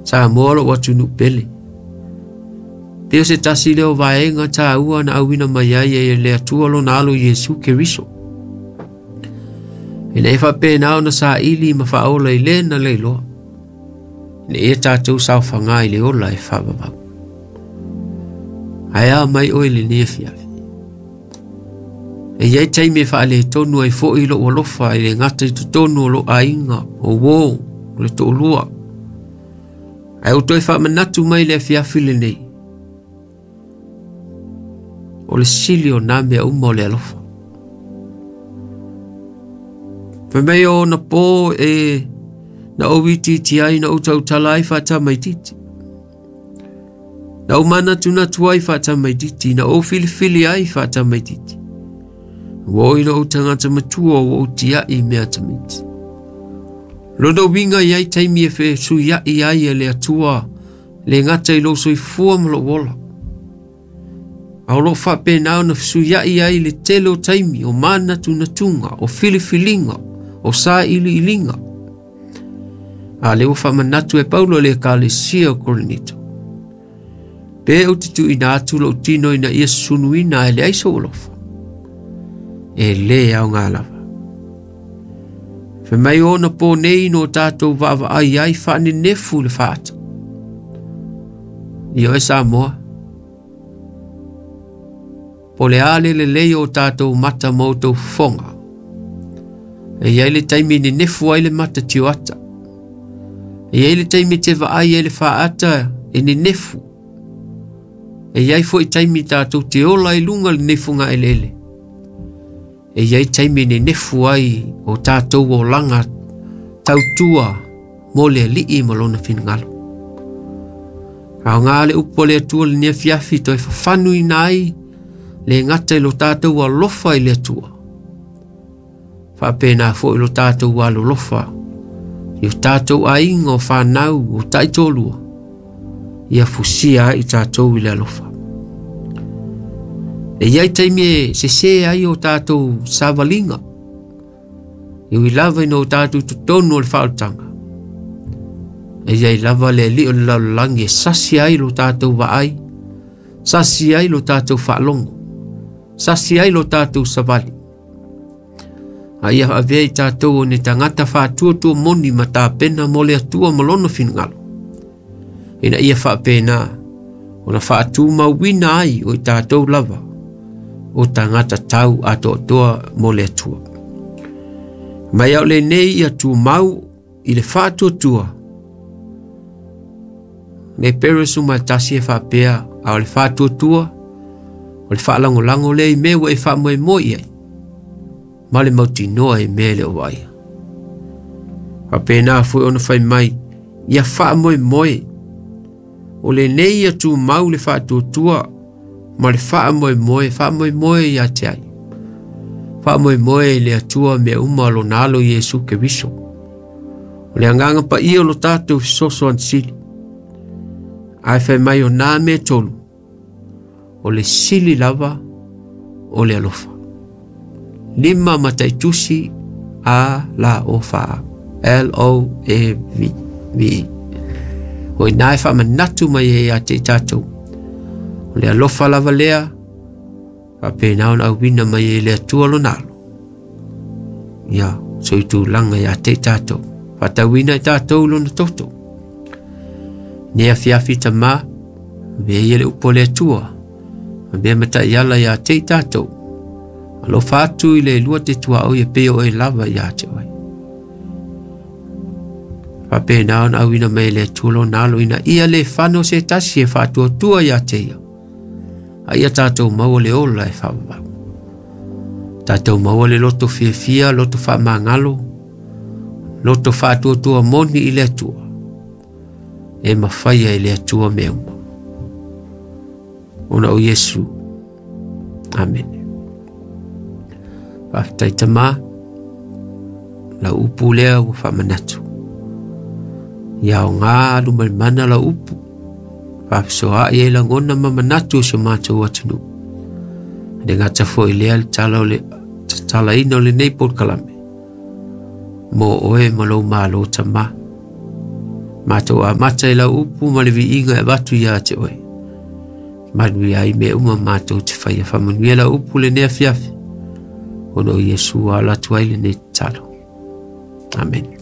Samoa lou atunuu pele. Pei o se tasi lea o vaega taua na auina mai ai e le Atua lona alo Iesu Keriso. Ina ia faapena ona saili ma faaola i le na le iloa. Ina ia tatou saofaga i le ola e faavavau. Ae a mai oe i lenei afiafi. E i ai taimi e faaletonu ai foi lou alofa e le gata i totonu o lou aiga, o uo, o le toalua. Ae ua toe faamanatu mai le afiafi lenei, o le sili o nā mea uma o le alofa. Fai mai o ona pō e na ou itiiti ai, na ou tautala ai faatamaitiiti. Na ou manatunatu ai faatamaitiiti, na ou filifili ai faatamaitiiti. Ua oo ina ou tagata matua ua ou tiai i mea tamaiti. Lona uiga i ai taimi e fesuiai ai e le Atua le gata i lou soifua ma lou ola. A o lo o faapena ona fesuiai ai le tele o taimi o manatunatuga, o filifiliga, o sailiiliga. A lea ua faamanatu e Paulo i le Ekalesia o Korinito. Pe ou te tuuina atu lou tino ina ia sunuina ae leai sou alofa, e lē aoga lava. Fai mai o ona pō nei no tatou vaavaai ai faanenefu le faata. Ioe Samoa, po o le a le lelei o tatou mata ma outou fofoga. E i ai le taimi e nenefu ai le mata tioata. E i ai le taimi e te vaai ai le faata e nenefu. E i ai foi taimi tatou te ola i luga lenei fogaeleele. E i ai taimi e nenefu ai o tatou olaga tautua mo le Alii ma lona finagalo. Aoga le upu a le Atua lenei afiafi toe fafanuina ai le gata i lo tatou alofa i le Atua. Faapena foi lo tatou alolofa i o tatou aiga o fanau o taitoalua, ia fusia ai i tatou i le alofa. E i ai taimi e sesē ai o tatou savaliga, E ui lava ina o tatou totonu o le faaolataga, e i ai lava le Alii o le lalolagi e sasi ai lo tatou vaai, sasi ai lo tatou faalogo, sasi ai lo tatou savali. A ia avea i tatou o ni tagata faatuatua moni ma tapena mo le Atua ma lona finagalo, ina ia faapena ona faatumauina ai o i tatou lava o tagata tau atoatoa mo le Atua. Mai au lenei ia tumau i le faatuatua le Peres uma tasi e faapea a o le faatuatua o le faalagolago lea i mea ua e faamoemoe i ai ma le mautinoa i mea e le o vaaia. Faapena foi ona fai mai, ia faamoemoe. O lenei ia tumau le faatuatua ma le faamoemoe, faamoemoe ia te ai. Faamoemoe i le Atua mea uma lona alo Iesu Keriso. O le agaga paia o lo tatou fesoasoani sili. Ae fai mai o nā mea tolu, o le sili lava o le alofa. Lima mataitusi A la o fa L O A V V. O ina e faamanatu mai ai ia te i tatou. O le alofa lava lea, faapena ona auina mai e le Atua lona alo. Ia, soitulaga ia te i tatou. Faatauina i tatou lona toto. Nei afiafi tamā, avea ia le upu a le Atua, avea ma taiala ia te i tatou. Alofa atu i le lua te tuaoi e pei o oe lava ia te oe. Faapena ona auina mai e le Atua lona alo ina ia le fano se tasi e faatuatua ia te ia. A ia tatou maua le ola e faavavau. Tatou maua le loto fiafia, loto faamagalo, loto faatuatua moni i le Atua. E mafaia e le Atua mea uma. Ona o Iesu. Amene. Faafetai Tamā, lau upu lea ua faamanatu. Ia aoga alumalimana lau upu, faafesoaai ai lagona ma manatu o si o matou atunuu. E le gata foi lea le tala o le tatalaina o lenei polokalame mo oe ma lou malo Tamā. Matou amata i lau upu ma le viiga e avatu ia te oe. Manuia ai mea uma matou te faia. Faamanuia lau upu lenei afiafi. Ona o Iesu ala atu ai lenei tatalo. Amen.